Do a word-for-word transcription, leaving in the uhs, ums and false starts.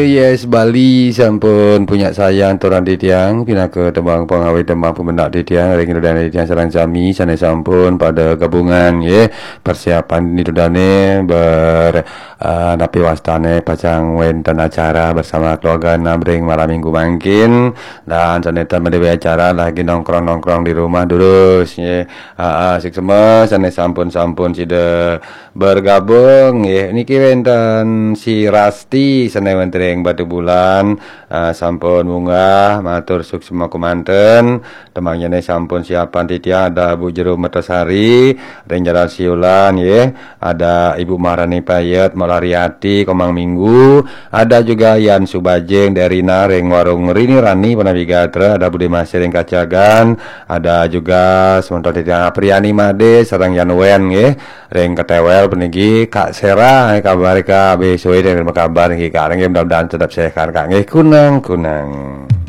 Yes, Bali sampun punya sayang turang titiang, pinaka tembang pengawit, tembang pemendak titiang, ring ida dane titiang sareng sami sane sampun pada gabungan, nggih. Persiapan ida dane ber, eh, napi wastane pacang wenten acara bersama keluarga enam ring malam minggu mangkin, dan sane tan made acara lagi nongkrong-nongkrong di rumah durus, nggih. Ah, ah, suksma sane sampun-sampun sida bergabung, nggih. Niki wenten si Rasti sane wenten ring Batubulan, ah, sampun munggah, matur suksma kemanten. Tembangnyane sampun siapan titiang, ada Bu Jero Mertasari ring Jalan Siulan, nggih. Ada Ibu Maharani Payet, Mak Lariati, Komang Minggu. Ada juga Yan Subajing, Derina ring Warung Rini Rani, Panawi Gatra. Ada Bude Masih ring Kacagan. Ada juga semeton titiang Apriani Made sareng Yan Wen, nggih. Ring Ketewel puniki, Kak Sera, kabar Kak, besok ini kabar nggih, Kak, nggih, mudah-mudahan tetap sehat, Kak, nggih, kunang-kunang.